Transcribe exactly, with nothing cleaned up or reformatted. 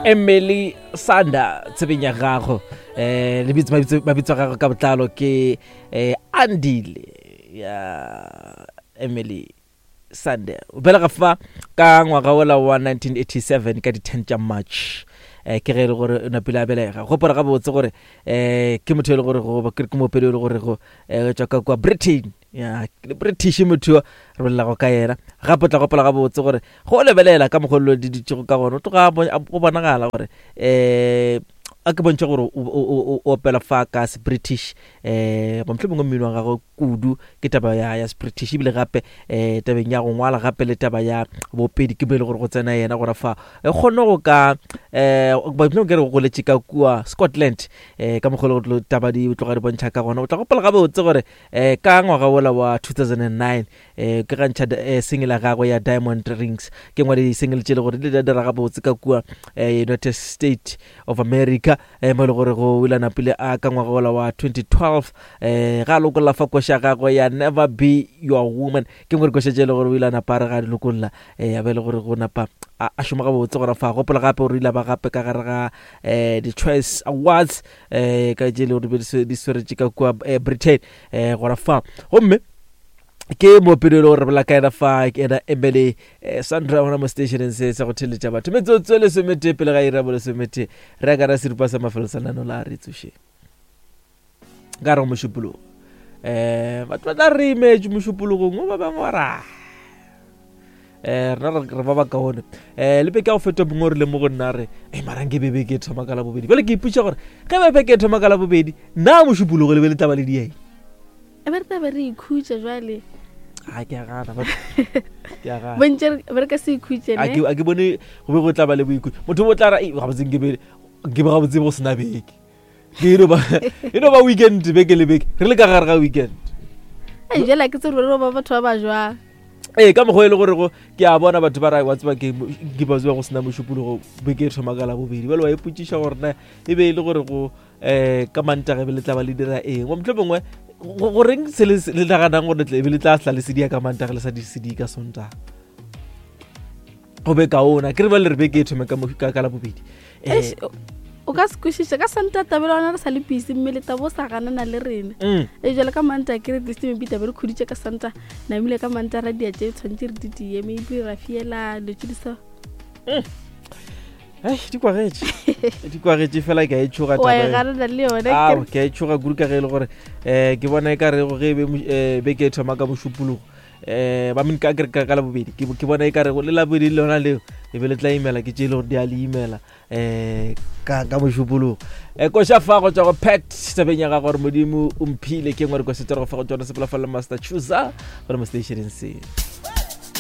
Emily Sanda tsebeng ya gago um lebitso mabitso a gago ka botlalo ke um Andile ya Emily Sande o belega fa ka ngwaga ola wa nineteen eighty-seven ka di-ten tša March um ke ge e le gore o napile a belega. Gopola gabotse gore um ke motho e le gore go ke moopedi e le gore go um tswa ka kua Britain ya British motho yo re bolelago ka yena. Gape o tla gopola gabotse gore go lebelela ka mokgwa lo di dutšego ka gona o tloga go bonagala gore um a ke bontšhe gore o opela fa ka se British um mohlomongwe mmino wa gagwe kudu ke taba ya ya se British, ebile gape um tabeng ya go ngwala gape le taba ya bopedi ke mo e le gore go tsena yena gora fa e kgone go ka um mohlomongwe ke re go goletše ka kua Scotland um ka mokgwa le go taba di tloga di bontšha ka gona. O tla gopola gabotse gore um ka ngwaga wola wa two thousand and nine um ke ga ntšha single ya gagwe ya Diamond Rings, ke ngwe di-single tše le gore di ile di dira gabotse ka kua United States of America um mo e le gore go ile napile a ka ngwaga wola wa twenty twelve um ga a lokolla fa koša gagwe ya Never Be Your Woman, ke ngwe dikoša tše e le gore o ile a napa a re ga di lokolla um a be e le gore go napa a šoma gabotse gona fa. Gopola gape gore o ile a ba gape ka gare ga um di-Choice Awards um ka tše e le gore di swaretše ka kua Britain um gona fa. Gomme ke moopedi e le gore re bolela ka yena fa ke ena Emily Sandra gona mo stationeng se sa go theletša batho. Metsotso e lesometee pele ga iri ya bolesometee re ya ka ra seripa sa mafelo sa nano la re tsošeng ka re go mošupologo um batho ba tla re imetše mošupologong o ba bangwe ba ra um rena re ba bakaone um le beke ya go feta mongwe o rile mo go nna re e mara nke be beke e thoma ka labobedi. Bjale ke ipotša gore ge be beke e thoma ka labobedi nna mošupologo le be le taba le dieng e be re tla be re ikhutša jwale. A ke a gana batho, ke a gana. Bontše be re ka se ikhutše, A ne? ke a ke bone go be go tla ba le boikhutšo. Motho o tla ra ei gabotse nke be nke be gabotse go sena beke. Ke e no ba e no ba weekend beke le beke re le ka gare ga weekend. Ei, jwale ha ke tsebe gore re ba batho ba ba jwang. Ee, ka mokgwa e le gore go ke a bona batho ba ra wa tseba ke ke ba tseba go sena mošupologo beke e thoma ka labobedi. Bjale wa ipotšiša gore na e be e le gore go um ka Mantaga be le tla ba le dira eng. Mohlomongwe goreng se le le naganang gore e be le tla hla le sedia ka Mantaga le sa di sedie ka Sontaga. Go be kaona ke re ba le re beke e thome ka ka ka labobedi. Eish, o ka se kwešiša ka Sontaga taba le gona re sa le busy mme le taba o sa ganana le rena. Mm. E jwale ka Mantaga ke re at least maybe taba re khuditše ka Sontaga namile ka Mantaga ra dia tše tshwanetse re di die maybe ra fiela dilo tše di sa. Ei, di kwagetše di kwagetše fela ke a e tšhoga Wa e taba e. ganana le yona Ao, ke ke a e tšhoga kudu ka ge e le gore um ke bona e ka rego ge e be eh, beke e thoma ka mošupologo um ba ka ke re ka labobedi ke ke bona e ka rego le labobedi le lona leo e be le tla imela ke tše e le gore di a le imela um ka ka mošupologo. Um koša fa go tswa go Pat tabeng ya gago gore Modimo o mphile ke ngwe re ko setorogo fa go tsona sepela fa le Master Chooser gore mo stationeng se.